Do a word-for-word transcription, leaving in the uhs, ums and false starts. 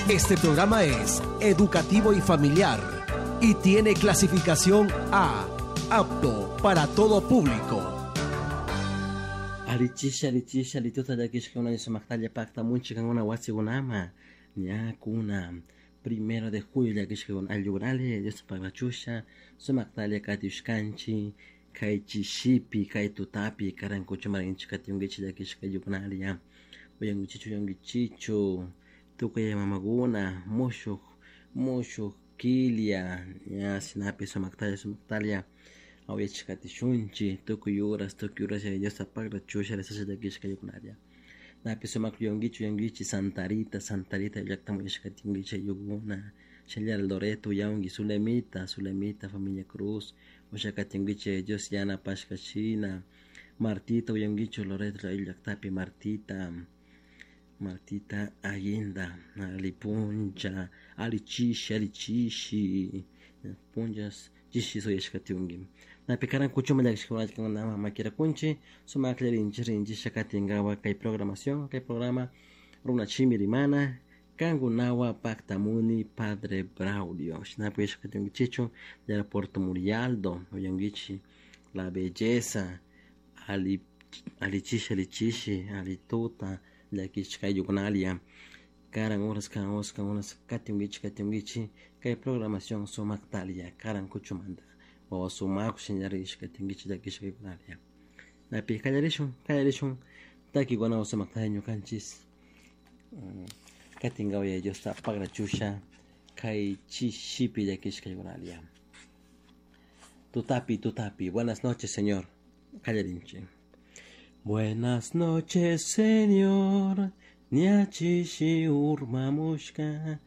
Este programa es educativo y familiar y tiene clasificación A, apto para todo público. Alichisha, alichisha, alituta llakishkuna sumaqtalla paqtamunchik kankuna wasikunama ñakuna primero de julio llakishkakuna ayllukunali Diosta paglachusha sumaqtalla katiushkanchik kay chishipi kay tutapi karankuchuma rinchik katiunkichik llakishka ayllukunali ya uyankichichu uyankichichu tukuy mamakuna mushuk mushuk killa ña shinapi sumaqtalla sumaqtalla awyachik katishunchik tukuy horas tukuy horas Yaya Diosta paglachusha rezasha llakishka ayllukunalla napi sumak uyankichik uyankichik Santa Rita Santa Rita llaktaman uyashka katinkichik ayllukuna shinallara Loreto uyanki Zulemita Zulemita familia Cruz ushakatinkichik Dios yanapashka shina Martita uyankichu Loreto llaktapi Martita Martita Aguinda ali puncha ali chishi ali chishi punchas chishi uyashka katiunki napi karankuchuma llakishkakunaka makirakunchik sumaklla rinchik rinchik katinkapak kay programación kay programa Runashimi Rimana kankunawan paktamuni Padre Braulio shinapi uyashka katinkichikchu Puerto Murialdo uyankichik La Belleza ali ali chishi ali chishi ali tuta llakishka ayllukunalla karan horas karan horas karan horas katinkichik katinkichik kay programación sumaktalla karankuchumanta wawa sumak shinallara katinkichik llakishka ayllukunalla napi kallarishun kallarishun takikunawan sumaktalla ñukanchik katinkapak Yaya Diosta paglachusha kay chishipi llakishka ayllukunalla tutapi tutapi buenas noches Señor kallarinchik Buenas noches, Señor, ña chishi urmamushka.